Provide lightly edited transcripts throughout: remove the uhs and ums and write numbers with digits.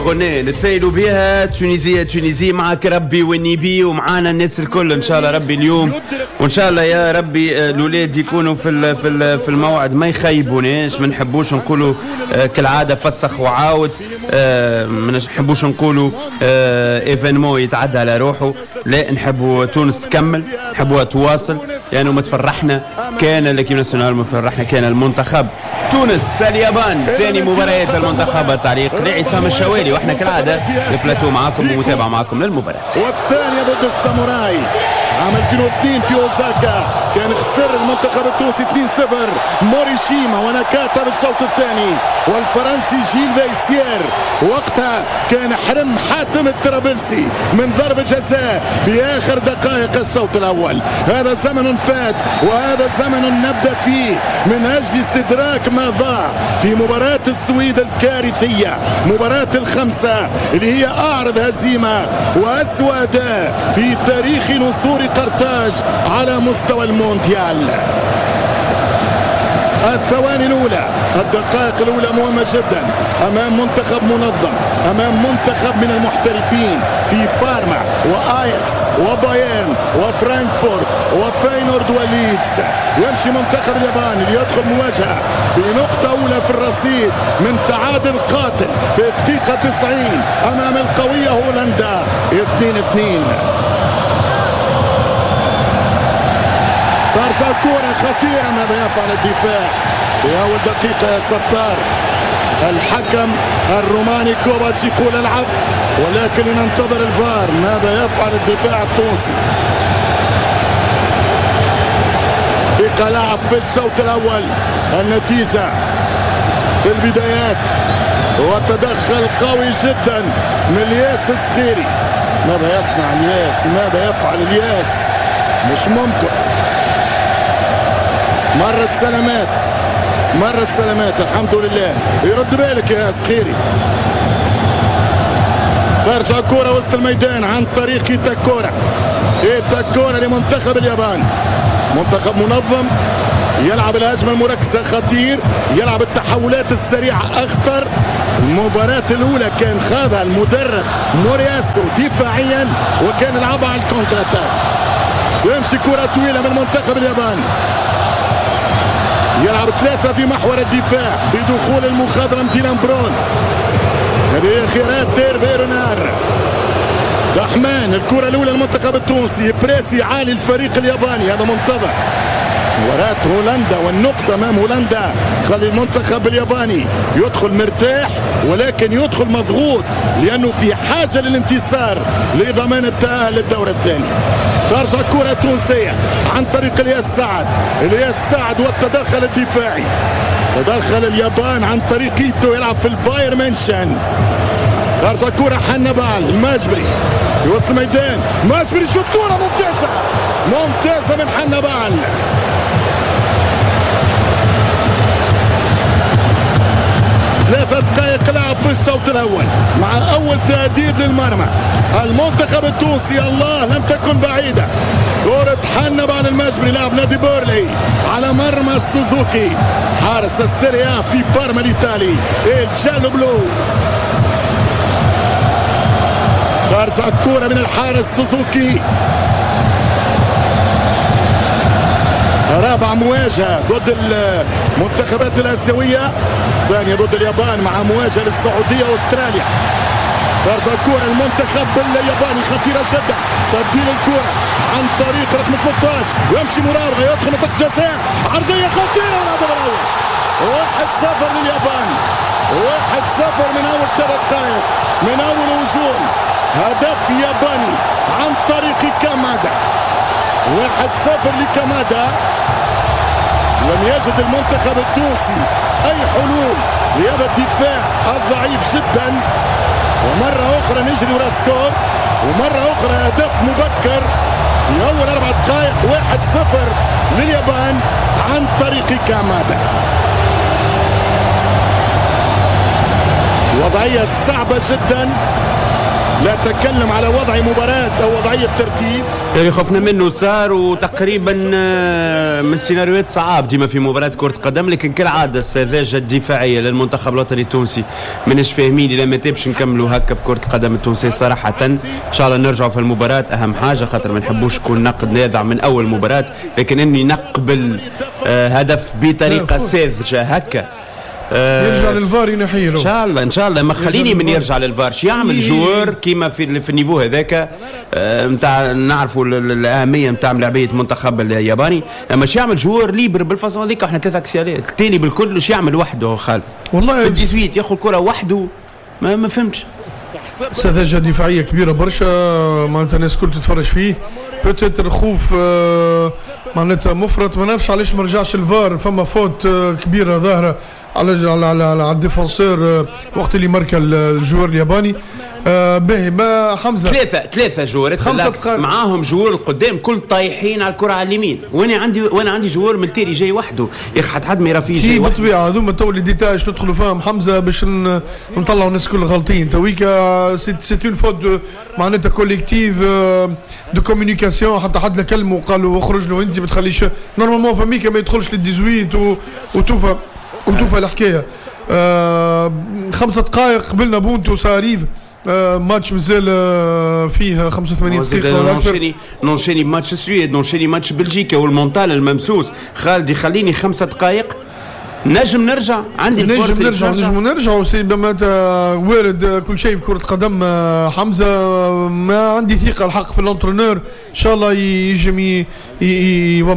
غناء نتفائلوا بها Tunisie Tunisie، معك ربي والنبي ومعانا الناس الكل ان شاء الله ربي اليوم، وان شاء الله يا ربي الاولاد يكونوا في الموعد، ما يخيبوناش. ما نحبوش نقولوا كالعادة فسخ وعاود، ما نحبوش نقولوا événement يتعدى على روحه، لا نحبوا تونس تكمل، نحبوها تواصل، لانه ما تفرحنا كان l'équipe nationale، ما تفرحنا كان المنتخب. تونس اليابان ثاني مباريات المنتخب، التعليق لعصام الشوالي، واحنا كالعادة البلاتو معاكم ومتابعة معاكم للمباراة. والثانية ضد الساموراي عام 2002 في اوزاكا، كان خسر المنتخب التونسي 2-0، موريشيما ونكاتا بالشوط الثاني، والفرنسي جيل فايسير وقتها كان حرم حاتم الطرابلسي من ضربة جزاء في آخر دقائق الشوط الأول. هذا زمن فات وهذا زمن نبدأ فيه من أجل استدراك ما ضاع في مباراة السويد الكارثية، مباراة الخمسة اللي هي أعرض هزيمة وأسوأ أداء في تاريخ نسور قرطاج على مستوى المونديال. الثواني الأولى، الدقائق الأولى مهمة جدا أمام منتخب منظم، أمام منتخب من المحترفين في بارما وآياكس وبايرن وفرانكفورت وفاينورد وليدز. يمشي منتخب اليابان ليدخل مواجهة بنقطة أولى في الرصيد من تعادل قاتل في دقيقة 90 أمام القوية هولندا 2-2. ترجع كرة خطيرة، ماذا يفعل الدفاع في أول دقيقة يا ستار؟ الحكم الروماني كوباتش يقول العب، ولكن ننتظر الفار. ماذا يفعل الدفاع التونسي؟ دقيقة لعب في الشوط الأول، النتيجة في البدايات، وتدخل قوي جدا من الياس الصغيري. ماذا يصنع الياس؟ ماذا يفعل الياس؟ مش ممكن. مرت سلامات، مرت سلامات، الحمد لله. يرد بالك يا صخيري. ترجع كرة وسط الميدان عن طريق إيتاكورا، إيتاكورا لمنتخب اليابان. منتخب منظم، يلعب الهجمة المركزة خطير، يلعب التحولات السريعة أخطر. المباراة الأولى كان خاضها المدرب مورياسو دفاعيا، وكان لعبها على ال contre-attaque. يمشي كرة طويلة من منتخب اليابان، يلعب ثلاثة في محور الدفاع بدخول المخضرم ديلان برون. هذه خيارات تيرفي رونار. دحمان، الكرة الأولى للمنتخب التونسي، pressing عالي الفريق الياباني، هذا منتظر. مباراة هولندا والنقطة أمام هولندا خلي المنتخب الياباني يدخل مرتاح، ولكن يدخل مضغوط لأنه في حاجة للانتصار لضمان التأهل للدور الثاني. ترجع كرة تونسية عن طريق الياس سعد، الياس سعد والتدخل الدفاعي. تدخل اليابان عن طريق إيتو، يلعب في البايرن ميونشن. ترجع كرة حنبال الماجبري في وسط الميدان، ماجبري شوت كرة ممتازة، ممتازة من حنبال. ثلاثة دقائق لعب في الشوط الأول مع أول تهديد للمرمى. المنتخب التونسي الله لم تكن بعيدة. كرة حنبال المجبري لاعب نادي بيرلي على مرمى سوزوكي حارس السيريا في بارما الإيطالي ال gialloblu. ترجع الكرة من الحارس سوزوكي. رابع مواجهة ضد المنتخبات الآسيوية، ثانية ضد اليابان مع مواجهة للسعودية واستراليا. ترجع الكرة المنتخب الياباني خطيرة جدا، تبديل الكرة عن طريق رقم 13، ويمشي مراوغة يدخل منطقة جزاء، عرضية خطيرة والهدف الأول. 1-0 لليابان، 1-0 من أول 3 دقائق، من أول هجوم، هدف ياباني عن طريق كامادا. 1-0 لكامادا. لم يجد المنتخب التونسي أي حلول لهذا الدفاع الضعيف جدا. ومرة أخرى نجري ورا score، ومرة أخرى هدف مبكر في أول 4 دقائق. 1-0 لليابان عن طريق كامادا. وضعية صعبة جدا، لا تكلم على وضع مباراة أو وضعية ترتيب. اللي خفنا منه صار، وتقريبا من السيناريوهات صعاب ديما في مباراة كرة قدم، لكن كالعادة السذاجة الدفاعية للمنتخب الوطني التونسي ماناش فاهمين إلى متى باش نكملوا هكا بكرة القدم التونسية صراحة. إن شاء الله نرجعوا في المباراة، أهم حاجة خاطر ما نحبوش يكون نقد نادع من أول مباراة، لكن إني نقبل هدف بطريقة ساذجة هكا يرجع للفار ينحيله ان شاء الله. ان شاء الله ما خليني من يرجع للفار، شي يعمل joueur كيما في ال niveau هذاك نتاع نعرفوا الاهمية نتاع ملاعبيه المنتخب الياباني، اما شي يعمل joueur libre بال façon هذيك، احنا ثلاثة axial ات الثاني بالكل شي يعمل وحده خالد والله في 18 ياخذ كره وحده ما فهمتش. سذاجة دفاعية كبيرة برشا، معناتها الناس الكل تتفرج فيه، peut-être خوف معناتها مفرط، ما نعرفش علاش ما رجعش الفار. فما faute كبيرة ظاهره على على على, على ال défenseur وقت اللي ماركا ال joueur الياباني. باهي ما حمزة ثلاثة joueur ات معاهم joueur القدام كل طايحين على الكره على اليمين، وانا عندي joueur من التالي جاي وحده يا اخي، حد ما يرى فيه جاي وحده. بالطبيعة هذوما تو les détails ندخلوا فيهم حمزة باش نطلعوا الناس كل غالطين. تويكا c'est une faute معناتها collective de communication، حتى حد لا كلمة وقالوا اخرج له انت ما تخليش normalement فميكا ما يدخلش لل 18 وتوفى الحكاية. 5 دقائق قبلنا بونتو ça arrive، ماتش مازال فيه 85 دقيقة ولا أكثر. نونشيني ماتش السويد، نونشيني ماتش بلجيكا، وال mental الممسوس خالد يخليني 5 دقائق نجم نرجع، عندي الفرصة نجم نرجع c'est وارد كل شيء في كرة القدم. حمزة ما عندي ثقة الحق في l'entraîneur، إن شاء الله يجم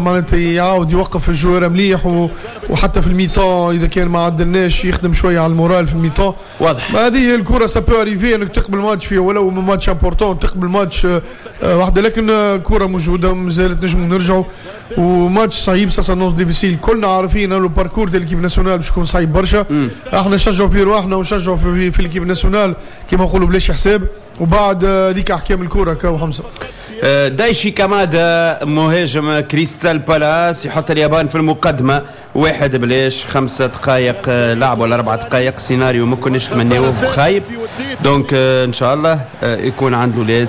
معناتها يعاود يوقف ال joueur مليح، وحتى في ال mi-temps إذا كان ما عدلناش يخدم شوية على ال moral في ال mi-temps. واضح هذه هي الكرة، ça peut arriver انك تقبل ماتش فيه ولو match important تقبل ماتش واحدة، لكن الكرة موجودة مازالت نجم نرجعوا، وماتش صعيب ça s'annonce difficile، كلنا عارفين انه ال parcours ديال l'équipe nationale باش يكون صعيب برشا. احنا نشجعوا في رواحنا ونشجعوا في l'équipe nationale كيما نقولوا بلاش حساب، وبعد هذيك احكام الكره كاو حمزة. دايشي كامادا مهاجم كريستال بالاس يحط اليابان في المقدمة 1-0، 5 دقائق لعب ولا 4 دقائق، سيناريو ما كناش نتمناوه خايب. donc ان شاء الله يكون عند الاولاد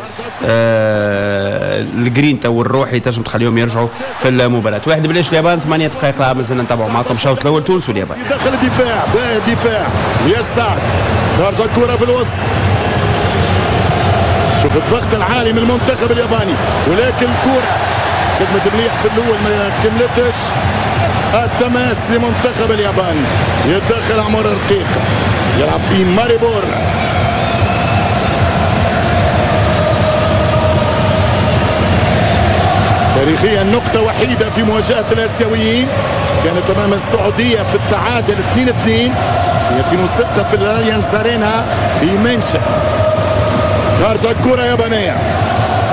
الجرينتا والروح اللي تنجم تخليهم يرجعوا في المباراة. 1-0 اليابان، 8 دقائق لعب مازلنا نتابعوا معكم الشوط الاول تونس واليابان. دخل الدفاع، باهي الدفاع يا سعد، ترجع الكره في الوسط، شوف الضغط العالي من المنتخب الياباني، ولكن الكرة خدمة مليح في الأول ما كملتش. التماس لمنتخب اليابان، يتدخل عمر رقيق، يلعب في ماريبور. تاريخيا نقطة وحيدة في مواجهة الآسيويين كانت أمام السعودية في التعادل 2-2 في 2006 في الأليانز أرينا في مينشن. ترجع الكرة يابانية،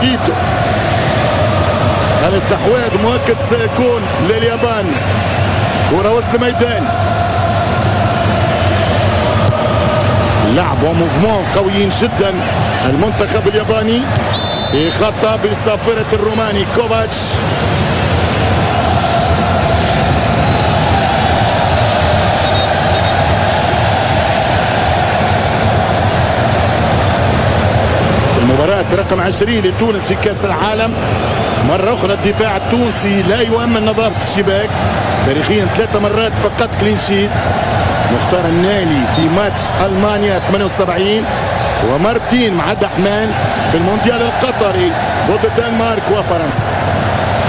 إيتو، الاستحواذ مؤكد سيكون لليابان. كرة وسط الميدان، لعب و mouvement قويين جدا المنتخب الياباني، يخطى بصافرة الروماني كوفاتش. المباراة رقم 20 لتونس في كأس العالم. مرة أخرى الدفاع التونسي لا يؤمن نظافة الشباك، تاريخيا 3 مرات فقط clean sheet. مختار النالي في ماتش ألمانيا 78، ومارتين مع دحمان في المونديال القطري ضد الدنمارك وفرنسا.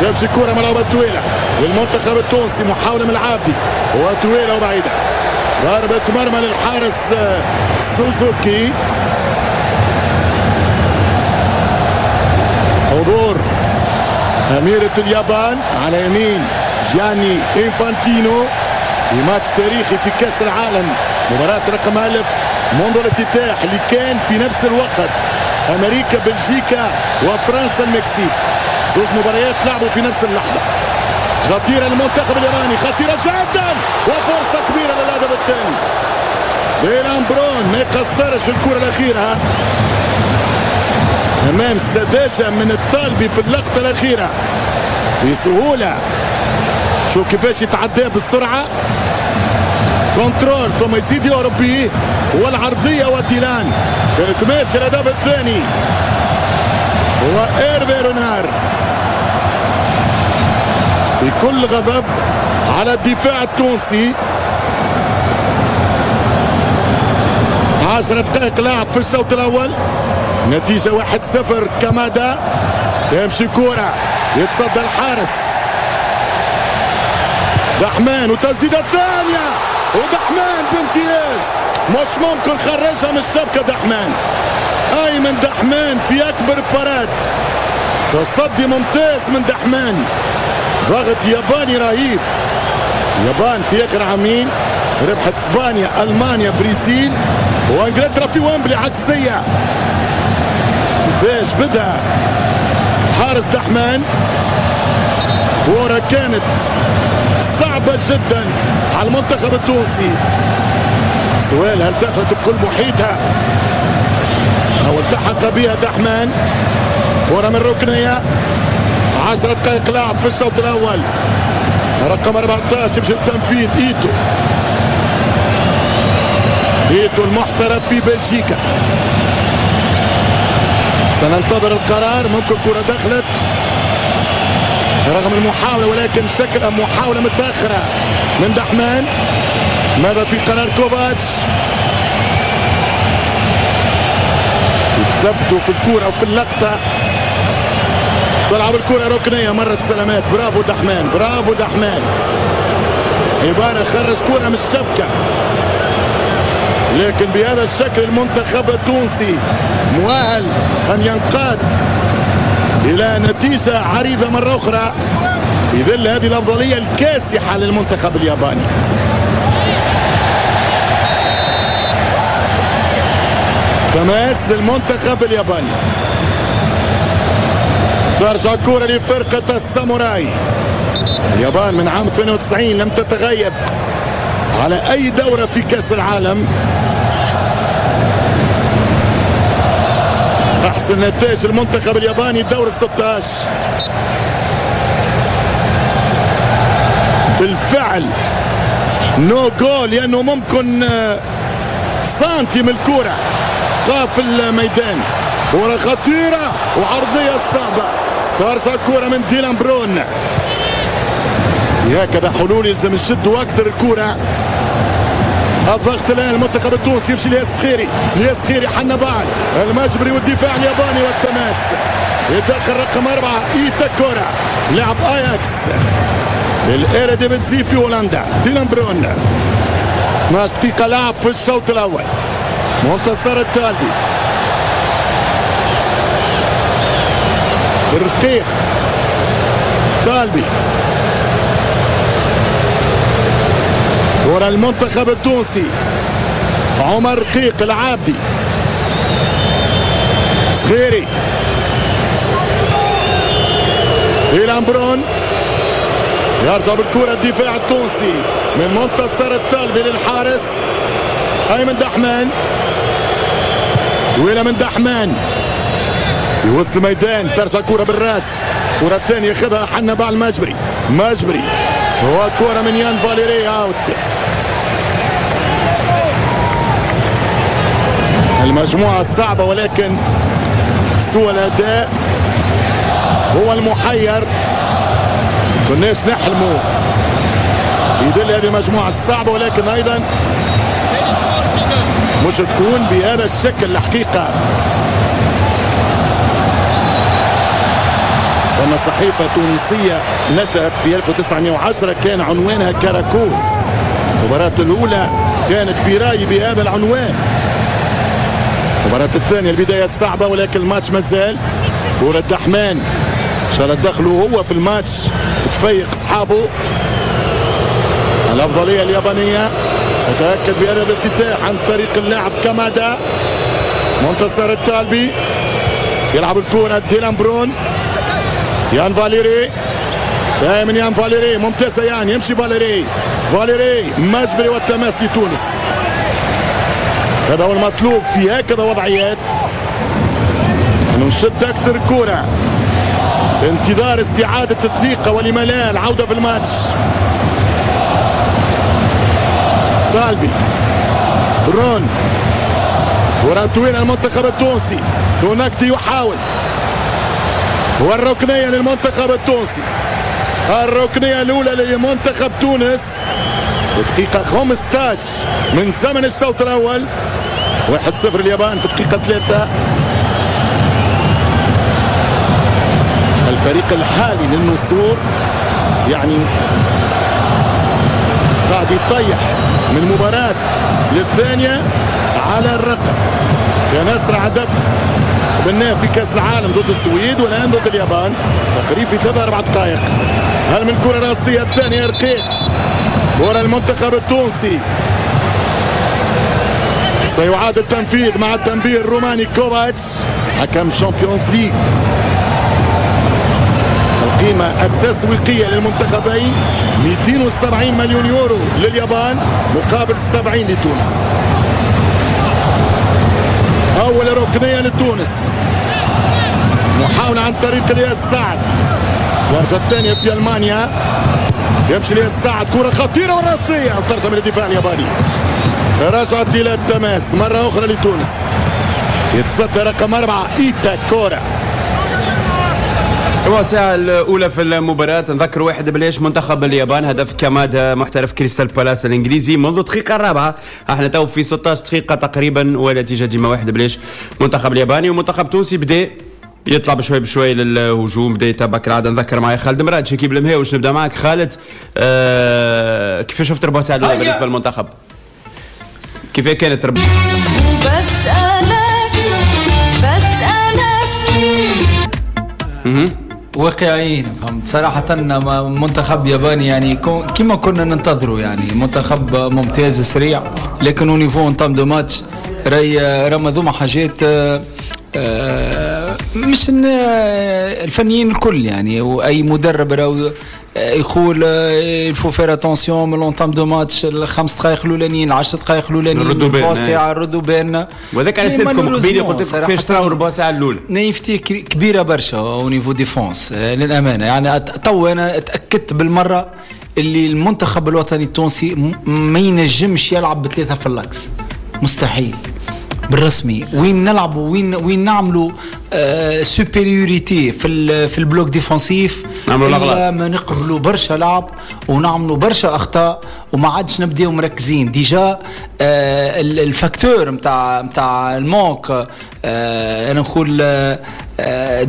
يمشي كرة ملعوبة طويلة للمنتخب التونسي، محاولة من العابدي وطويلة وبعيدة، ضربة مرمى للحارس سوزوكي. حضور أميرة اليابان على يمين جياني إنفانتينو في ماتش تاريخي في كأس العالم، مباراة رقم 1000 منذ الافتتاح اللي كان في نفس الوقت أمريكا بلجيكا وفرنسا المكسيك، زوج مباريات لعبوا في نفس اللحظة. خطيرة للمنتخب الياباني، خطيرة جدا وفرصة كبيرة للهدف الثاني. ديلان برون ما يقصرش في الكرة الأخيرة أمام سذاجة من الطالبي في اللقطة الأخيرة بسهولة. شوف كيفاش يتعدى بالسرعة، contrôle ثم يزيد يهرب به، والعرضية وديلان كانت ماشية الهدف الثاني وإيرفي رونار بكل غضب على الدفاع التونسي. 10 دقائق لعب في الشوط الأول، نتيجة 1-0. كمادا يمشي كرة، يتصدى الحارس دحمان، وتسديدة ثانية ودحمان بامتياز، مش ممكن خرجها من الشبكة دحمان. أيمن دحمان في أكبر parade، تصدي ممتاز من دحمان، ضغط ياباني رهيب. اليابان في آخر عامين ربحت اسبانيا، ألمانيا، برازيل وانجلترا في ويمبلي عكسية. كيفاش بدأ حارس دحمان، كورة كانت صعبة جدا على المنتخب التونسي. سؤال، هل دخلت بكل محيطها أو التحق بها دحمان؟ كرة من ركنية، 10 دقائق لعب في الشوط الأول. رقم 14 يمشي التنفيذ، إيتو، إيتو المحترف في بلجيكا. سننتظر القرار، ممكن كرة دخلت رغم المحاولة، ولكن شكل محاولة متأخرة من دحمان. ماذا في قرار كوفاتش؟ يتثبتوا في الكرة وفي اللقطة. تلعب الكرة ركنية، مرة سلامات، برافو دحمان، برافو دحمان. عبارة خرج كرة من الشبكة، لكن بهذا الشكل المنتخب التونسي مؤهل أن ينقاد إلى نتيجة عريضة مرة أخرى في ظل هذه الأفضلية الكاسحة للمنتخب الياباني. تماس للمنتخب الياباني، ترجع كرة لفرقة الساموراي. اليابان من عام 92 لم تتغيب على أي دورة في كأس العالم. أحسن نتائج المنتخب الياباني دور 16. بالفعل no goal، لأنه ممكن سنتي من الكرة قاف الميدان. كرة خطيرة وعرضية صعبة، ترجع الكرة من ديلان برون. هكذا حلول يلزم يشدوا أكثر الكرة. الضغط الآن المنتخب التونسي يمشي للسخيري، للسخيري حنبال المجبري والدفاع الياباني والتماس. يدخل رقم 4 إيتاكورا لاعب اياكس في الإيريديفيزي في هولندا. ديلان برون، 12 دقيقة لعب في الشوط الأول. منتصر الطالبي، رقيق، طالبي، ورا المنتخب التونسي عمر رقيق العابدي، صغيري، ديلان برون يرجع بالكرة الدفاع التونسي من منتصر الطالبي للحارس أيمن دحمان. وإلى من دحمان يوصل الميدان، ترجع كرة بالراس، كرة الثانية ياخذها حنبعل المجبري، مجبري هو كرة من يان فاليري out. المجموعة الصعبة، ولكن سوء الأداء هو المحير. كناش نحلموا في ظل هذه المجموعة الصعبة، ولكن أيضا مش تكون بهذا الشكل الحقيقة. فما صحيفة تونسية نشأت في 1910 كان عنوانها كاراكوز. المباراة الأولى كانت في رأيي بهذا العنوان. المباراة الثانية البداية الصعبة، ولكن الماتش مازال. كرة دحمان إن شاء الله دخلوا هو في الماتش تفيق أصحابه. الأفضلية اليابانية أتأكد بهذا الافتتاح عن طريق اللاعب كامادا. منتصر الطالبي يلعب الكرة ديلان برون، يان فاليري، دائما يان فاليري، ممتازة يان، يمشي فاليري، فاليري مجبري والتماس لتونس. هذا هو المطلوب في هكذا وضعيات، أنه نشد أكثر كرة في انتظار استعادة الثقة ولما لا العودة في الماتش. طالبي رون كرة طويلة المنتخب التونسي، هناك يحاول، والركنية للمنتخب التونسي، الركنية الأولى لمنتخب تونس دقيقة 15 من زمن الشوط الأول. 1-0 اليابان في دقيقة 3. الفريق الحالي للنسور يعني قاعد يطيح من مباراة للثانية على الرقم. كان أسرع هدف قبلناه في كأس العالم ضد السويد والآن ضد اليابان تقريبا في 3-4 دقائق. هل من كرة رأسية الثانية رقيق ورا المنتخب التونسي، سيعاد التنفيذ مع التنبيه الروماني كوفاتش حكم Champions League. القيمة التسويقية للمنتخبين 270 مليون يورو لليابان مقابل 70 لتونس. أول ركنية لتونس، محاولة عن طريق الياس سعد، الدرجة الثانية في ألمانيا، يمشي الياس سعد، كرة خطيرة والرأسية ترجع من الدفاع الياباني، رجعت إلى التماس مرة أخرى لتونس، يتصدى رقم 4 إيتاكورا. الساعة الأولى في المباراة نذكر 1-0 منتخب اليابان، هدف كمادا محترف كريستال بالاس الإنجليزي منذ الدقيقة الرابعة. احنا تو في 16 دقيقة تقريبا ونتيجة ديما 1-0 منتخب الياباني. ومنتخب تونسي بدا يطلع بشوي بشوي للهجوم، بدا يتبع كالعادة. نذكر معي خالد مراد شكيب المهاوش. نبدا معك خالد، كيف شفت ربع ساعة الأولى بالنسبة للمنتخب؟ كيف كانت ربع؟ واقعيين فهمت صراحة. منتخب ياباني يعني كما كنا ننتظره، يعني منتخب ممتاز سريع، لكن au niveau entame de match راي رمضوما حاجات مش الفنيين الكل يعني، واي مدرب راهو يقول il faut faire attention من l'entame de match، الخمس دقائق الاولانيين، 10 دقائق الاولانيين ربع ساعة ردوا بالنا. وهذاك على سالتكم قبيلة قلت لكم كيفاش تراو ربع ساعة الاولى. naïveté كبيرة برشا au niveau défense للامانة. يعني تو انا تاكدت بالمرة اللي المنتخب الوطني التونسي ما ينجمش يلعب بثلاثة في l'axe، مستحيل بالرسمي. وين نلعبوا وين نعملوا supériorité في ال bloc défensif، نعملوا ما نقبلوا برشا لعب ونعملوا برشا اخطاء وما عادش نبداو مركزين. déjà ال facteur نتاع ال manque انا نقول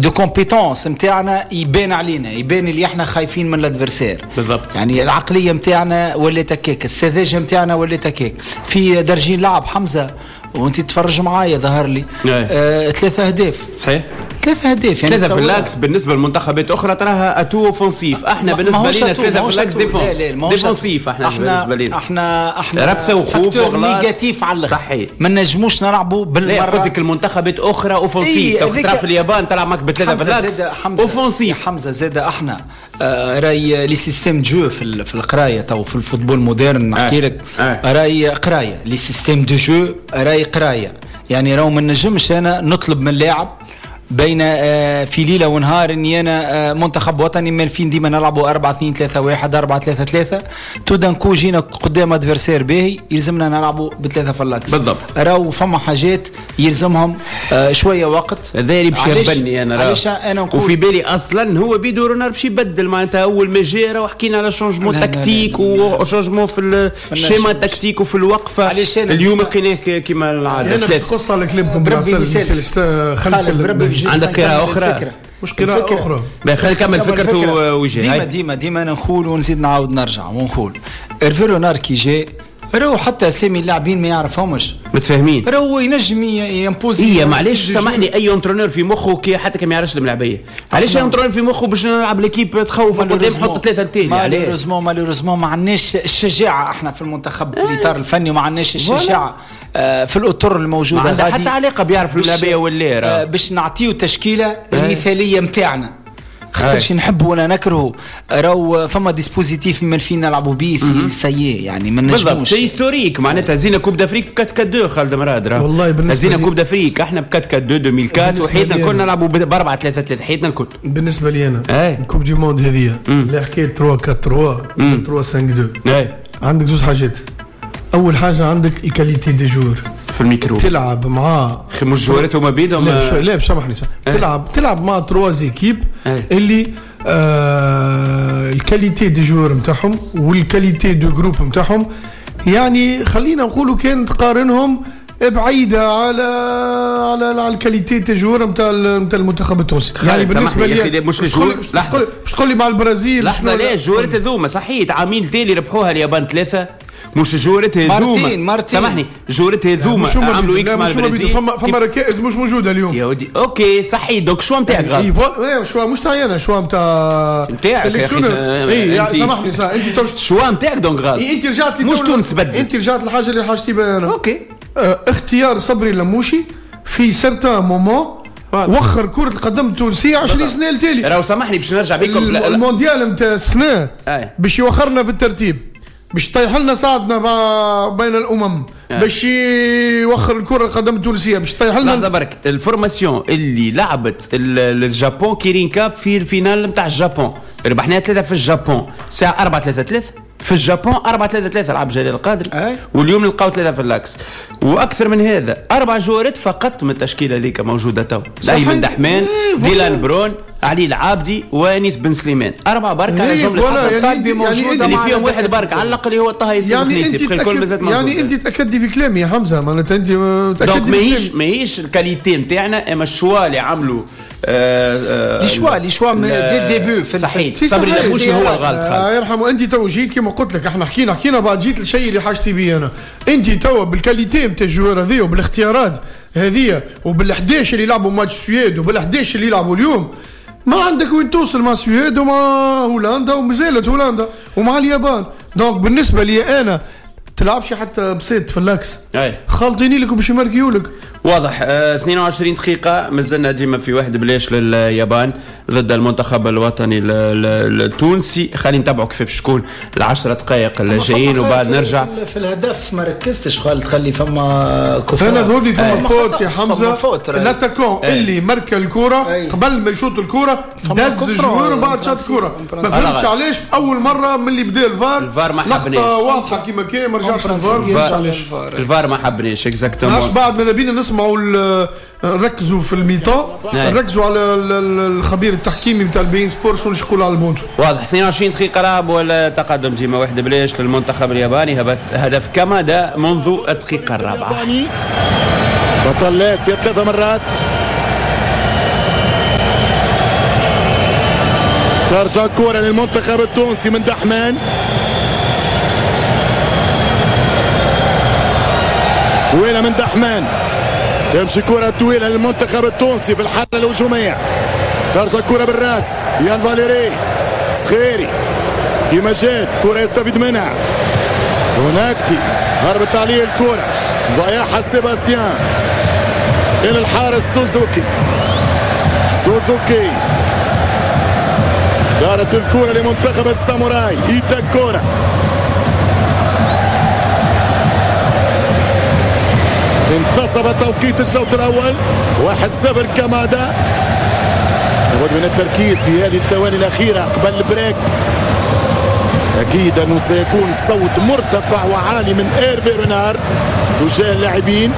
de compétence نتاعنا يبان علينا، يبان اللي احنا خايفين من l'adversaire بالضبط. يعني العقلية نتاعنا ولات هكاك، السذاجة نتاعنا ولات هكاك. في درجين لعب حمزة وانت تتفرج معايا ظهر لي 3 اهداف. صحيح 3 اهداف يعني 3 في l'axe بالنسبة للمنتخبات اخرى تراها atout offensif. احنا بالنسبة لنا 3 في l'axe défense défensif. احنا بالنسبة لنا احنا ربثه وخوف وغلط négatif على الاخر. صحيح ما نجموش نلعبوا بالمرة. لا قلت لك المنتخبات اخرى offensif. ترى في اليابان تلعب معك بثلاثة في l'axe offensif. حمزة زاد احنا راي les systèmes de jeu في القراية تو في ال football moderne نحكي لك راي قرايه les systèmes de jeu راي قرايه. يعني راهو ما نجمش انا نطلب من لاعب بين في ليلة ونهار اني انا منتخب وطني مالفين ديما نلعبوا 4-2-3-1 4-3-3 tout d'un coup جينا قدام adversaire باهي يلزمنا نلعبوا بثلاثة في l'axe بالضبط. راهو فما حاجات يلزمهم شوية وقت. هذا اللي باش يبني انا علاش انا نقول وفي بالي اصلا هو بيدو رونار باش يبدل معناتها اول ما جا راهو حكينا على changement tactique و changement في ال schéma tactique وفي الوقفة. اليوم لقيناه كيما العادة. انا نقص على كلامكم بربي. عندك قراءة أخرى؟ مش قراءة أخرى. خلينا نكمل فكرته وجهي. ديما ديما نقول ونزيد نعاود نرجع ونقول إرفي رونار كي جاء راهو حتى اسامي اللاعبين ما يعرفهمش متفاهمين، راهو ينجم ي imposer. إيه معليش سامحني اي entraîneur في مخه كي حتى كي ما يعرفش الملاعبيه، علاش entraîneur في مخه باش نلعب l'équipe تخوف قدام حط 3 التالي؟ malheureusement ما عندناش الشجاعة احنا في المنتخب في الاطار الفني وما عندناش الشجاعة في الاطر الموجودة غادي. حتى علاقة بيعرف الملاعبيه ولا باش نعطيو التشكيلة المثالية نتاعنا خاطرش نحبه ولا نكرهه راهو فما dispositif من فين نلعبوا بيه سيء يعني ما نجموش. بالضبط c'est historique معناتها هزينا Coupe d'Afrique 4-4-2 خالد مراد راه والله بالنسبة هزينا Coupe d'Afrique احنا ب 4-4-2 2004 وحيدنا الكل نلعبوا ب 4-3-3 حيدنا الكل. بالنسبة لي انا Coupe du monde هذه اللي حكاية 3-4-3 3-5-2 عندك زوج حاجات. اول حاجة عندك ال qualité des joueurs في الميكرو، تلعب مع مش جوارات هما بيدهم. لا سامحني، تلعب مع trois équipes اللي ال qualité des joueurs نتاعهم وال qualité de groupe نتاعهم، يعني خلينا نقولوا كان تقارنهم بعيدة على على على ال qualité des joueurs نتاع المنتخب التونسي. يعني بالنسبة لي مش ال joueurs، باش تقول لي مع البرازيل لحظة، لا الجوارات هذوما صحيح عامين تالي ربحوها اليابان 3، مش الجوارات هذوما، سامحني الجوارات هذوما عملوا X مع البرازيل، فما ركائز مش موجودة اليوم يا ودي. OK صحيح، donc choix نتاعك غلط. choix مش تاعي انا، choix نتاع نتاعك يا اخي. اي سامحني صح، انت choix نتاعك donc غلط. انت رجعت مش تونس بدل، انت رجعت الحاجة اللي حاجتي بها انا. OK اختيار صبري لموشي في certain moment وخر كرة القدم التونسية 20 سنة التالي. راهو سامحني باش نرجع بكم المونديال نتاع السنة باش يوخرنا في الترتيب، باش يطيح لنا ساعدنا بين الامم، باش يوخر الكرة القدم التونسية، باش يطيح لنا. لحظة برك، ال formation اللي لعبت ال Japon Kirin Cup في ال finale نتاع الجابون ربحناها 3 في الجابون، ساعة 4-3-3 في الجابون، 4-3-3 لعب جلال القادري، واليوم نلقاو 3 في l'axe. واكثر من هذا 4 جوارات فقط من التشكيلة هذيك موجودة تو، ايمن دحمان، ديلان برون، علي العابدي، وانيس بن سليمان، 4 برك على جملة يعني اللي فيهم واحد برك على الاقل اللي هو طه ياسين الخنيسي، يعني الكل مازال موجود. يعني انت تاكدي في كلامي يا حمزة، معناتها انت تاكدي ماهيش ال qualité نتاعنا، اما ال choix اللي عملوا les choix dès le début في صحيح. صبري لموشي هو الغلط خالد يرحمه. انت تو جيت كما قلت لك، احنا حكينا بعد جيت الشيء اللي حاجتي بيه انا. انت تو بال qualité نتاع ال joueurs هذه وبالاختيارات هذه وبال11 اللي لعبوا ماتش السويد وبال11 اللي لعبوا اليوم، ما عندك وين توصل مع السويد ومع هولندا، ومازالت هولندا ومع اليابان. donc بالنسبة لي انا تلعبش حتى بسيط في l'axe، خالطيني لك وباش يماركيو لك. واضح. 22 دقيقة مازلنا ديما في 1-0 لليابان ضد المنتخب الوطني التونسي. خلينا نتابعوا كيف باش تكون 10 دقائق الجايين وبعد نرجع. في الهدف ما ركزتش خالد، خلي فما coup franc. انا ذولي فما faute يا حمزة، l'attaquant اللي مركى الكرة قبل ما يشوط الكرة دز ال joueur وبعد شاط الكرة. ما فهمتش علاش اول مرة من اللي بدا الفار ما حبناش، لقطة واضحة كيما كان ما رجعش الفار. الفار ما حبناش exactement. بعد ماذا بينا نسمعوا، نركزوا في ال mi-temps، نركزوا على الخبير التحكيمي نتاع البين سبور شنو يقول على البونتو. واضح. 22 دقيقة لعب ولا تقدم ديما 1-0 للمنتخب الياباني. هدف كامادا منذ الدقيقة الرابعة. بطل اسيا 3 مرات. ترجع كرة للمنتخب التونسي من دحمان، طويلة من دحمان، تمشي كرة طويلة للمنتخب التونسي في الحالة الهجومية. ترجع كرة بالراس، يان فاليري صغيري كيما جات كرة يستفيد منها هناكتي، هربت عليه الكرة، ضيعها سيباستيان إلى الحارس سوزوكي. سوزوكي دارت الكرة لمنتخب الساموراي، إيتاكورا. انتصف توقيت الشوط الأول، 1-0 كامادا. لابد من التركيز في هذه الثواني الأخيرة قبل ال break. أكيد أنه سيكون صوت مرتفع وعالي من إيرفي رينار تجاه اللاعبين.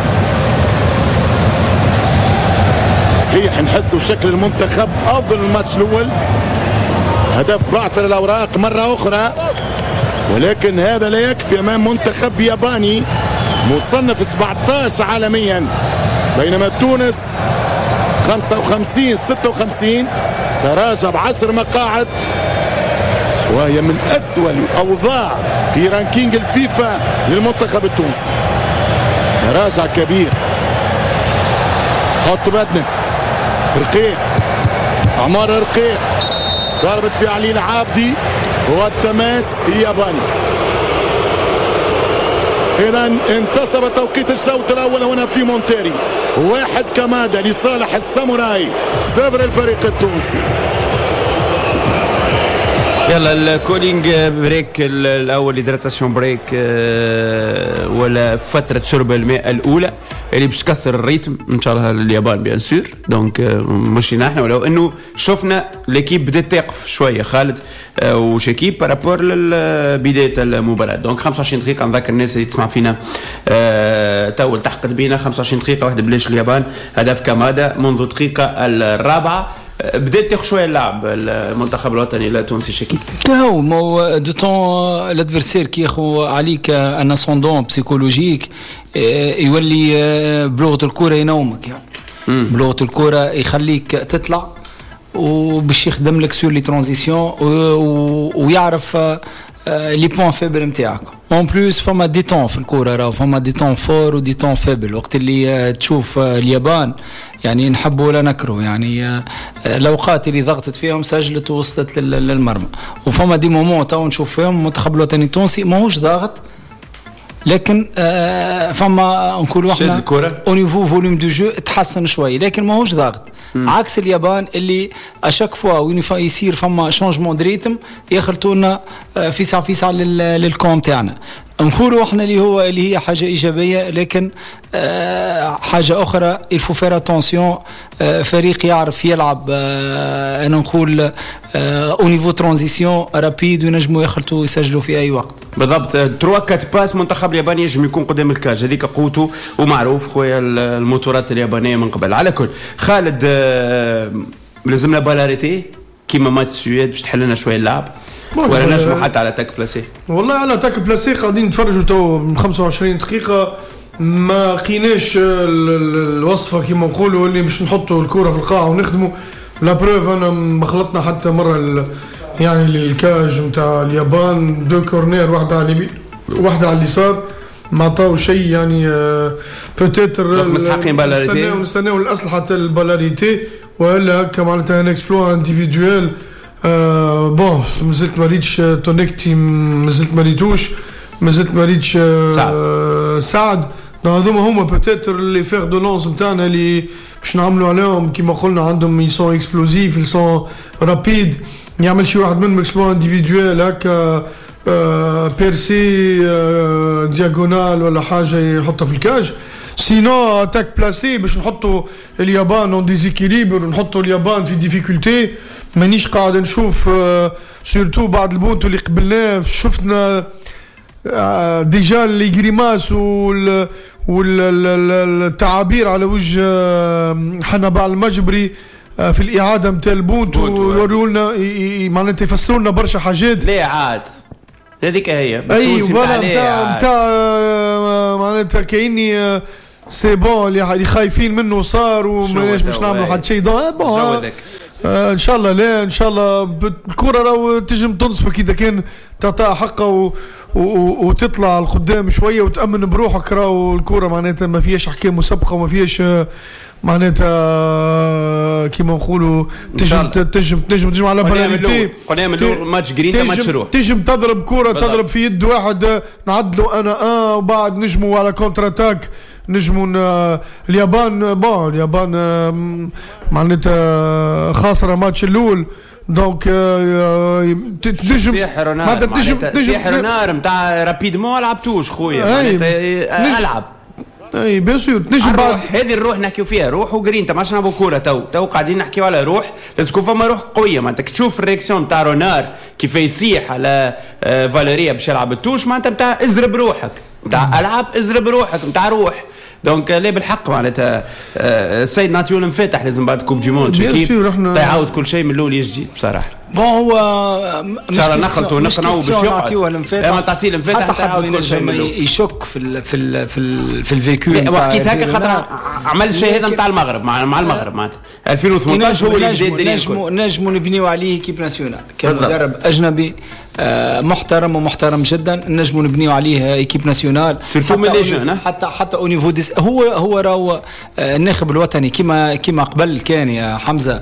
صحيح نحسوا شكل المنتخب أفضل الماتش الأول، هدف بعثر الأوراق مرة أخرى، ولكن هذا لا يكفي أمام منتخب ياباني مصنف 17 عالميا، بينما تونس 55-56 تراجع ب10 مقاعد، وهي من أسوأ الأوضاع في ranking الفيفا للمنتخب التونسي. تراجع كبير. حط بدنك رقيق، عمار رقيق، ضربت في علي العابدي والتماس ياباني. إذا انتصب توقيت الشوط الأول هنا في مونتيري، 1 كامادا لصالح الساموراي، 0 الفريق التونسي. يلا ال cooling break الأول، hydratation break، ولا فترة شرب الماء الأولى اللي باش تكسر ال rythme ان شاء الله اليابان bien sûr. donc مش نحن، ولو انه شفنا l'équipe بدات تقف شوية خالد وشكيب par rapport لبداية المباراة. donc 25 دقيقة، نذكر الناس اللي تسمع فينا تو التحقت بينا، 25 دقيقة 1-0 اليابان، هدف كامادا منذ الدقيقة الرابعة. بدات تاخذ شوية اللعب المنتخب الوطني التونسي شكيب. هو مو de temps l'adversaire كي ياخذ عليك un ascendant psychologique يولي بلغه الكره ينومك، يعني بلغه الكره يخليك تطلع وباش يخدم لك sur les transitions ويعرف les points faibles نتاعك. en plus فما des temps في الكورة، راهو فما des temps forts و des temps faibles. وقت اللي تشوف اليابان يعني نحبه ولا نكره، يعني الاوقات اللي ضغطت فيهم سجلت ووصلت للمرمى، وفما des moments تو نشوف فيهم المنتخب الوطني التونسي ماهوش ضاغط، لكن فما نقولوا احنا au niveau volume de jeu تحسن شوي، لكن ماهوش ضاغط. عكس اليابان اللي à chaque fois وين يصير فما changement de rythme يخلطوا لنا فيسع فيسع لل camp تاعنا. نقولوا احنا اللي هو اللي هي حاجة ايجابية، لكن حاجة اخرى il faut faire attention. فريق يعرف يلعب انا نقول au niveau transition rapide وينجموا يخلطوا يسجلوا في اي وقت. بالضبط، 3 4 passes منتخب الياباني ينجم يكون قدام ال cage، هذيك قوته ومعروف خويا الموتورات اليابانية من قبل. على كل خالد لازمنا balle arrêtée كيما ماتش السويد باش تحل لنا شوية اللعب، ولا نجموا حتى على attaque placée؟ والله على attaque placée قاعدين نتفرجوا تو من 25 دقيقة ما لقيناش الوصفة كيما نقولوا اللي باش نحطوا الكره في القاعة ونخدموا. la preuve انا ما خلطنا حتى مرة يعني لل cage نتاع اليابان، deux corners، واحدة على اليمين واحدة على اليسار، ما عطاو شيء يعني. peut-être مستحقين balle arrêtée، نستناو الاسلحة ال balle arrêtée والا هكا معناتها un exploit individuel. bon مازلت ما ريتش تونكتي، مازلت ما ريتوش، مازلت ما ريتش سعد. هذوما هما peut-être les fers de lance نتاعنا اللي باش نعملوا عليهم كيما قلنا، عندهم ils sont explosifs، ils sont rapides. يعمل شي واحد منهم exploit individuel هكا percée diagonale ولا حاجة يحطها في ال cage. sinon attaque placée باش نحطوا اليابان en déséquilibre ونحطوا اليابان في difficulté، مانيش قاعد نشوف. surtout بعد البونتو اللي قبلناه شفنا déjà les grimaces والتعابير على وجه حنبعل المجبري في الاعادة نتاع البونتو، يوريوا لنا معناتها يفسروا لنا برشا حاجات. ليه عاد هذيك هي اي voilà نتاع معناتها كايني c'est bon اللي خايفين منه صار وماناش باش نعملوا حتى شيء. bon ان شاء الله لا، ان شاء الله الكره راهو تنجم تنصفك اذا كان تعطيها حقها وتطلع لقدام شوية وتامن بروحك. راهو الكره معناتها ما فيهاش احكام مسبقة وما فيهاش معناتها كيما نقولوا تنجم تنجم تنجم تنجم على balle arrêtée. قلنا من ماتش جرينتا ماتش روح، تنجم تضرب كره تضرب في يد واحد نعدلوا انا وبعد نجموا على contre-attaque نجموا. اليابان bon اليابان معناتها خاسرة ماتش الاول، donc تنجم معناتها تنجم سحر نار نتاع rapidement لعبتوش خويا معناتها العب. اي bien sûr تنجم بعد هذه الروح نحكيو فيها، روح وجرينتا ما عادش نلعبوا كورة تو قاعدين نحكيو على روح، لازم يكون فما روح قوية. معناتها تشوف ال réaction تاع رونار كيف يصيح على فاليريا باش يلعب ال touche، معناتها نتاع ازرب روحك، نتاع العب ازرب روحك، نتاع روح. donc لا بالحق معناتها السيد نعطيو المفاتح لازم بعد coupe du monde يعاود كل شيء من الاول جديد بصراحة. bon هو ان شاء الله نخلطوا نقنعوا باش يقعد ما تعطيه المفاتح حتى كل شيء من الاول. يشك في ال في ال في ال في ال vécu وحكيت هكا خاطر عمل شيء هذا نتاع المغرب مع المغرب معناتها 2018 هو اللي بدا الدنيا. نجموا نبنيو عليه équipe nationale كمدرب اجنبي محترم ومحترم جدا، نجموا نبنيو عليه équipe nationale surtout من les jeunes حتى au niveau des هو راهو الناخب الوطني كيما قبل كان يا حمزة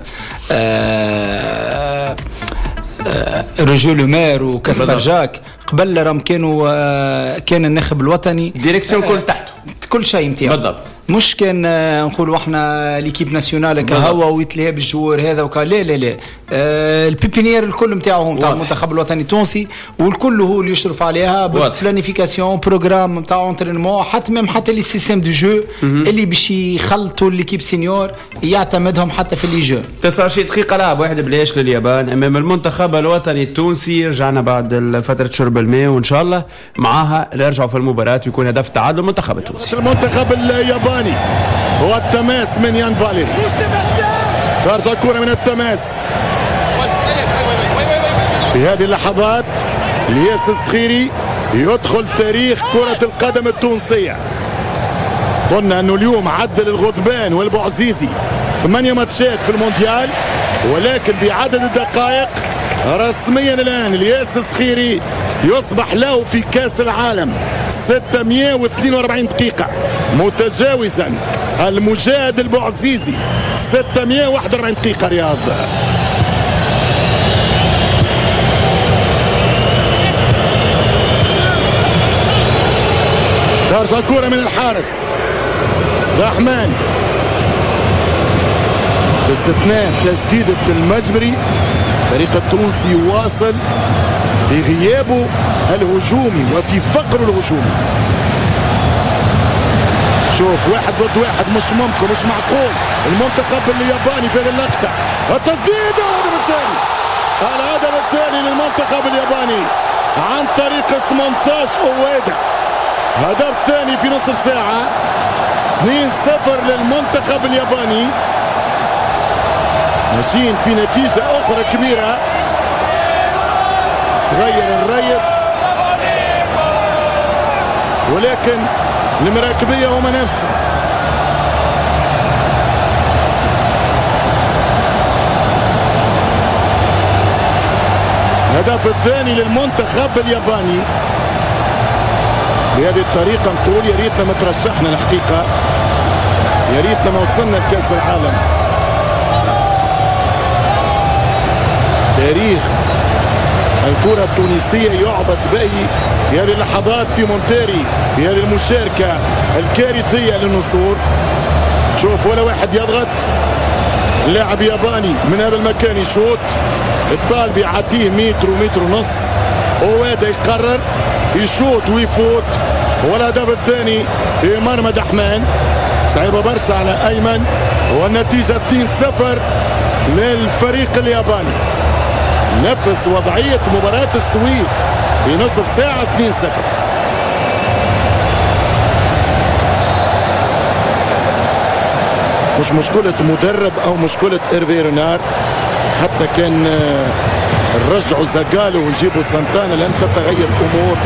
روجو لومير وكاسبر جاك قبل راهم كانوا كان الناخب الوطني direction كل تحته كل شيء نتاعو بالضبط. مش كان نقولوا احنا l'équipe nationale كهو ويتلهى بال joueur هذا وكا، لا لا لا، ال pépinière الكل نتاعو نتاع المنتخب الوطني التونسي، والكل هو اللي يشرف عليها بال planification، programme نتاع entraînement، حتى même حتى les systèmes de jeu اللي باش يخلطوا l'équipe senior يعتمدهم حتى في les jeux. 29 دقيقة لعب 1-0 لليابان امام المنتخب الوطني التونسي. رجعنا بعد فترة شرب الماء، وان شاء الله معاها نرجعوا في المباراة ويكون هدف تعادل المنتخب التونسي. المنتخب الياباني هو التماس من يان فاليري، ترجع الكرة من التماس. في هذه اللحظات الياس الصخيري يدخل تاريخ كرة القدم التونسية. قلنا أنه اليوم عدل الغضبان والبعزيزي 8 ماتشات في المونديال، ولكن بعدد الدقائق رسميا الآن الياس الصخيري يصبح له في كأس العالم 642 دقيقة، متجاوزا المجاهد البعزيزي 641 دقيقة. رياض ترجع الكرة من الحارس دحمان، باستثناء تسديدة المجبري. فريق التونسي يواصل في غيابه الهجومي وفي فقره الهجومي. شوف 1 ضد 1، مش ممكن، مش معقول. المنتخب الياباني في هذه اللقطة، التسديد، الهدف الثاني، الهدف الثاني للمنتخب الياباني عن طريق 18 أويدا. هدف ثاني في نصف ساعة، 2-0 للمنتخب الياباني. ماشيين في نتيجة أخرى كبيرة. تغير الرئيس، ولكن المراكبية هما نفسهم. الهدف الثاني للمنتخب الياباني. بهذه الطريقة نقول يا ريتنا ما ترشحنا الحقيقة، يا ريتنا ما وصلنا لكأس العالم. تاريخ الكرة التونسية يعبث به في هذه اللحظات في مونتيري، في هذه المشاركة الكارثية للنسور. شوف ولا واحد يضغط، لاعب ياباني من هذا المكان يشوط، الطالب يعطيه متر ومتر ونص، أويدا يقرر يشوط ويفوت. والهدف الثاني في مرمى دحمان، صعيبة برشا على أيمن، والنتيجة 2-0 للفريق الياباني. نفس وضعية مباراة السويد في نصف ساعة 2-0. مش مشكلة مدرب أو مشكلة إيرفي رينار، حتى كان رجعوا زاغالو ونجيبوا سانتانا لن تتغير الأمور.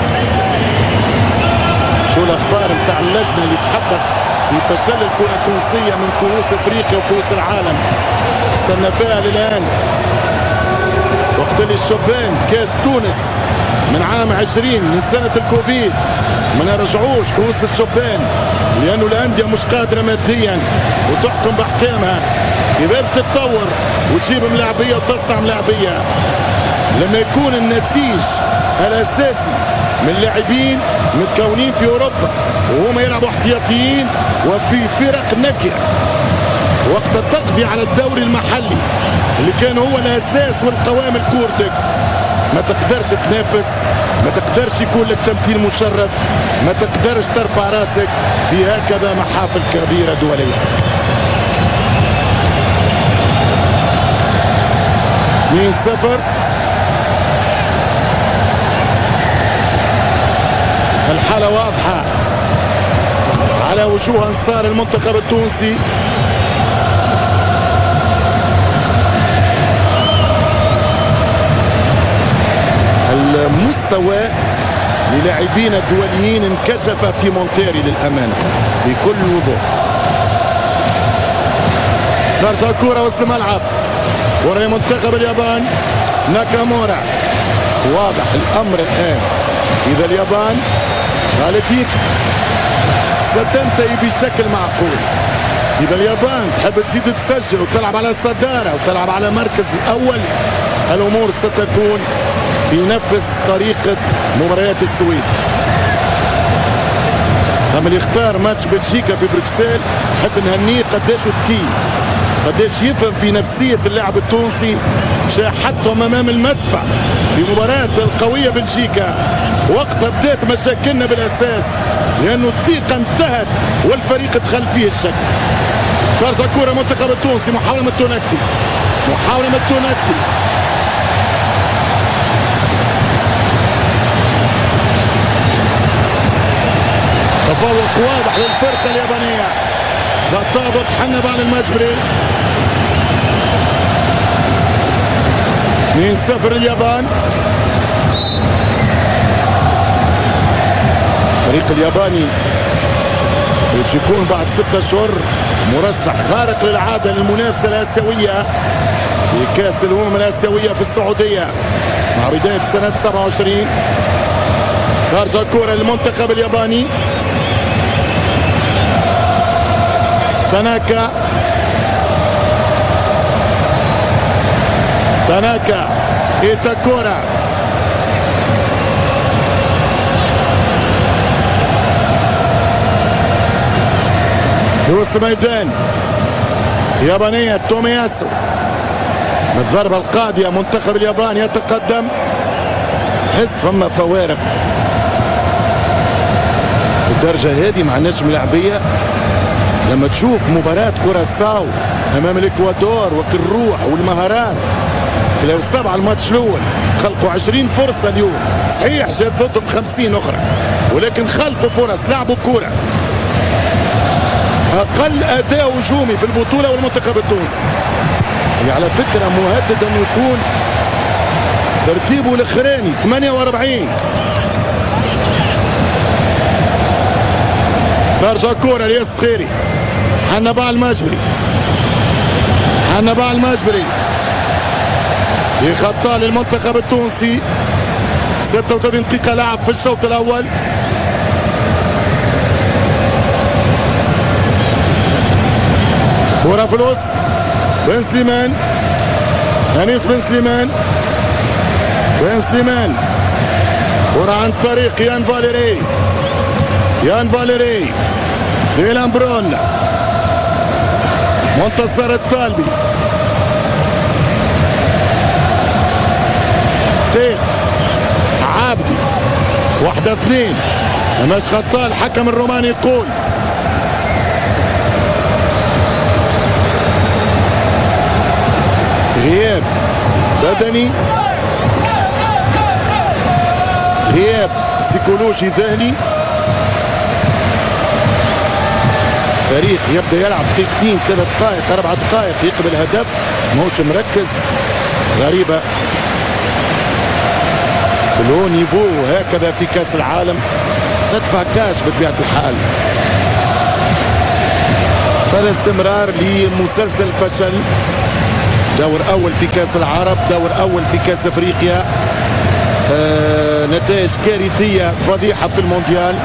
شو الأخبار متاع اللجنة اللي تحقق في فشل الكرة التونسية من كؤوس أفريقيا وكؤوس العالم؟ استنى فيها للآن. وقت اللي الشبان كاس تونس من عام 20 من سنة الكوفيد ما نرجعوش كؤوس الشبان لأنه الأندية مش قادرة ماديا وتحكم بأحكامها. يبقى باش تتطور وتجيب ملاعبية وتصنع ملاعبية. لما يكون النسيج الأساسي من لاعبين متكونين في أوروبا وهم يلعبوا احتياطيين وفي فرق نكرة، وقت تقضي على الدوري المحلي اللي كان هو الأساس والقوام الكورتك، ما تقدرش تنافس، ما تقدرش يكون لك تمثيل مشرف، ما تقدرش ترفع راسك في هكذا محافل كبيرة دولية. 2-0. الحالة واضحة على وجوه أنصار المنتخب التونسي. المستوى للاعبين الدوليين انكشف في مونتيري للأمانة بكل وضوح. ترجع الكرة وسط الملعب ورا منتخب اليابان ناكامورا. واضح الأمر الآن، إذا اليابان قالت يكفي ستنتهي بشكل معقول. إذا اليابان تحب تزيد تسجل وتلعب على الصدارة وتلعب على مركز الأول، الأمور ستكون في نفس طريقة مباريات السويد. اما اللي اختار ماتش بلجيكا في بروكسل حب نهنيه، قداش ذكي، قداش يفهم في نفسية اللاعب التونسي. مشى حطهم امام المدفع في مباراة القوية بلجيكا. وقتها بدات مشاكلنا بالاساس، لانه الثقة انتهت والفريق دخل فيه الشك. ترجع كرة منتخب التونسي، محاولة من التونكتي، محاولة من التونكتي. تفوق واضح للفرقة اليابانية. خطأ ضد حنبعل المجبري. 2-0 اليابان. الفريق الياباني باش يكون بعد 6 أشهر مرشح خارق للعادة للمنافسة الآسيوية في كأس الأمم الآسيوية في السعودية مع بداية سنة 27. ترجع الكرة للمنتخب الياباني. تاناكا، تاناكا، إيتاكورا، في وسط الميدان يابانية تومياسو. بالضربة القاضية منتخب اليابان يتقدم. حس فما فوارق الدرجة هذه ما عندناش ملاعبية. لما تشوف مباراة كوراساو أمام الإكوادور وكل الروح والمهارات، كلاو 7 الماتش الأول، خلقوا 20 فرصة اليوم. صحيح جات ضدهم 50 أخرى، ولكن خلقوا فرص، لعبوا كورة. أقل أداء هجومي في البطولة والمنتخب التونسي اللي على فكرة مهدد أن يكون ترتيبه الأخراني 48. ترجع كرة لياس خيري، حنبعل المجبري، حنبعل المجبري يخطى للمنتخب التونسي. 36 دقيقة لعب في الشوط الأول. كرة في الوسط، بن سليمان، أنيس بن سليمان، بن سليمان، كرة عن طريق يان فاليري، يان فاليري، ديلان برون، منتصر الطالبي، فتيق، عابدي، 1-2. مش خطأ، الحكم الروماني يقول. غياب بدني، غياب سيكولوجي ذهني. فريق يبدا يلعب دقيقتين، 3 دقائق، 4 دقائق، يقبل هدف، ماهوش مركز. غريبة في ال haut niveau هكذا في كاس العالم تدفع كاش بطبيعة الحال. هذا استمرار لمسلسل فشل. دور أول في كاس العرب، دور أول في كاس أفريقيا، نتائج كارثية فضيحة في المونديال.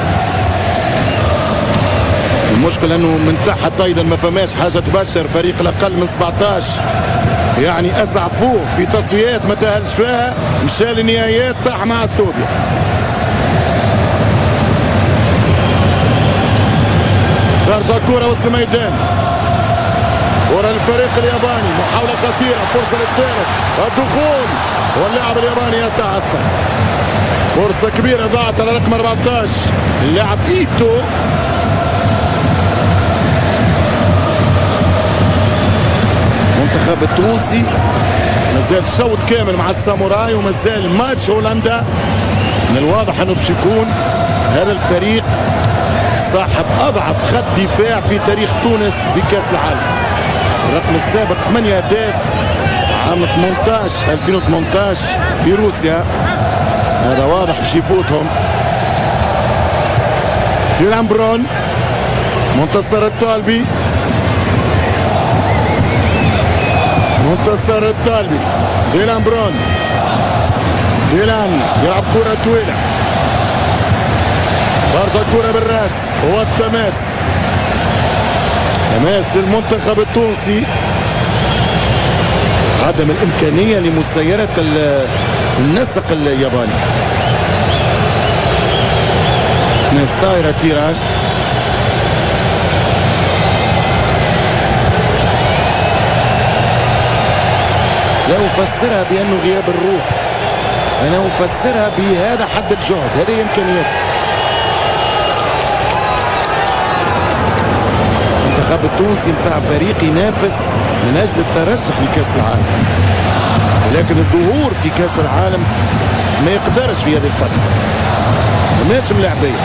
المشكلة أنه من تحت أيضا ما فماش حاجة تبشر. فريق الأقل من 17 يعني أسعفوه في تصفيات ما تأهلش فيها، مشى للنهائيات طاح مع اثيوبيا. ترجع الكرة وسط الميدان، ورا الفريق الياباني، محاولة خطيرة، فرصة للثالث، الدخول، واللاعب الياباني يتعثر. فرصة كبيرة ضاعت على رقم 14 اللاعب إيتو. المنتخب التونسي مازال شوط كامل مع الساموراي ومازال ماتش هولندا. من الواضح انه باش يكون هذا الفريق صاحب اضعف خط دفاع في تاريخ تونس بكاس العالم. الرقم السابق 8 اهداف عام 2018 في روسيا. هذا واضح باش يفوتهم. ديلان برون، منتصر الطالبي، منتصر الطالبي، ديلان برون، ديلان يلعب كرة طويلة، ترجع كرة بالراس والتماس، تماس للمنتخب التونسي. عدم الإمكانية لمسيرة النسق الياباني. ناس طايرة تيران. لا أفسرها بأنه غياب الروح، أنا أفسرها بهذا حد الجهد، هذه إمكانياته. المنتخب التونسي متاع فريق ينافس من أجل الترشح لكأس العالم، ولكن الظهور في كأس العالم ما يقدرش في هذه الفترة. ماشي ملاعبية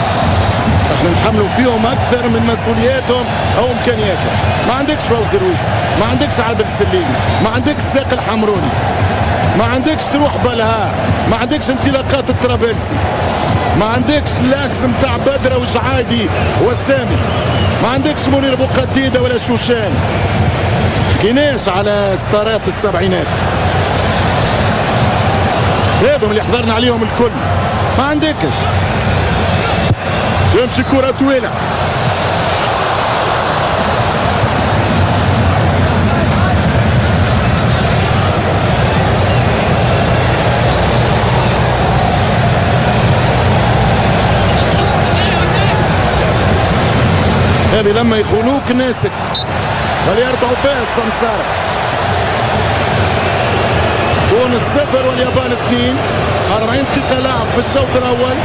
احنا نحملوا فيهم أكثر من مسؤولياتهم أو إمكانياتهم. ما عندكش فوزي رويس، ما عندكش عادل السليمي، ما عندكش ساق الحمروني، ما عندكش روح بلها، ما عندكش انطلاقات الطرابلسي، ما عندكش l'axe متاع بدرة وجعادي والسامي، ما عندكش منير بوقديدة ولا شوشان. حكيناش على ستارات السبعينات، هذم اللي حضرنا عليهم الكل ما عندكش. تمشي كرة طويلة، هذه لما يخونوك ناسك خلي يرتعوا فيها السمسارة. تونس 0 واليابان 2، 40 دقيقة لعب في الشوط الأول.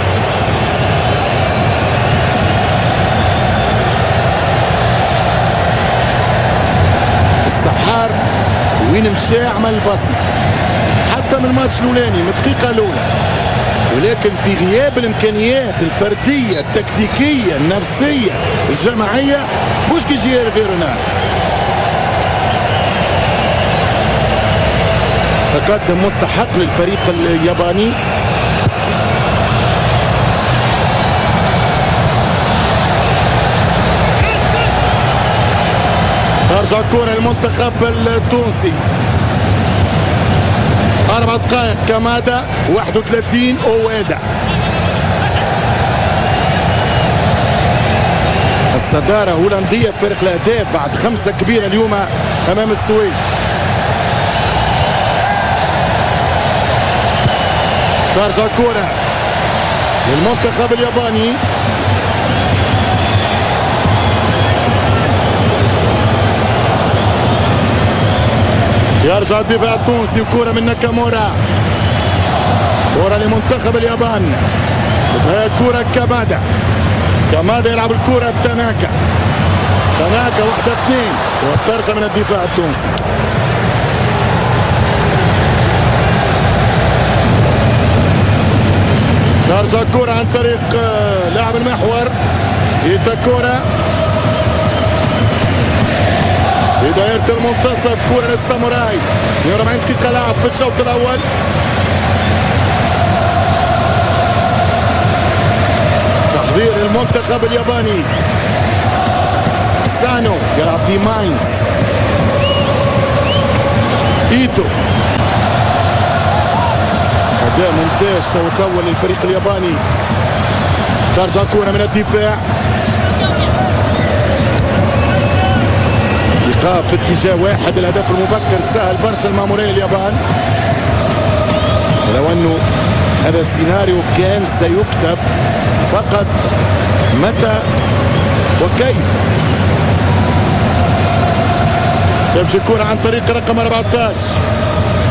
السحار وين مشى عمل بصمة حتى من الماتش الأولاني من الدقيقة الأولى، ولكن في غياب الإمكانيات الفردية التكتيكية النفسية الجماعية مش كي يجي رونار. تقدم مستحق للفريق الياباني. ترجع الكرة للمنتخب التونسي. 4 دقائق كمادة، 31 أويدا. الصدارة هولندية بفرق الأهداف بعد 5 كبيرة اليوم أمام السويد. ترجع الكرة للمنتخب الياباني. يرجع الدفاع التونسي وكرة من ناكامورا، كرة لمنتخب اليابان. بتهيأ كرة كامادا، كامادا يلعب الكرة تاناكا، تاناكا 1-2 وترجع من الدفاع التونسي. ترجع الكرة عن طريق لاعب المحور إيتاكورا في دائرة المنتصف، كرة للساموراي. 42 دقيقة لعب في الشوط الأول. تحضير المنتخب الياباني. سانو يلعب في ماينز. إيتو، أداء ممتاز شوط أول للفريق الياباني. ترجع كرة من الدفاع، إيقاف في اتجاه واحد، الهدف المبكر سهل برشا المامورية اليابان. ولو أنه هذا السيناريو كان سيكتب فقط متى وكيف. يمشي الكرة عن طريق رقم 14،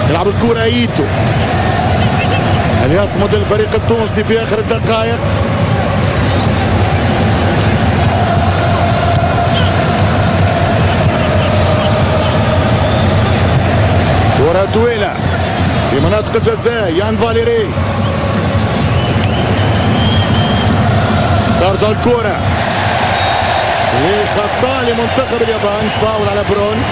يلعب الكرة إيتو. هل يصمد الفريق التونسي في آخر الدقائق؟ كرة طويلة في مناطق الجزاء، يان فاليري. ترجع الكرة لخطأ لمنتخب اليابان، فاول على برون.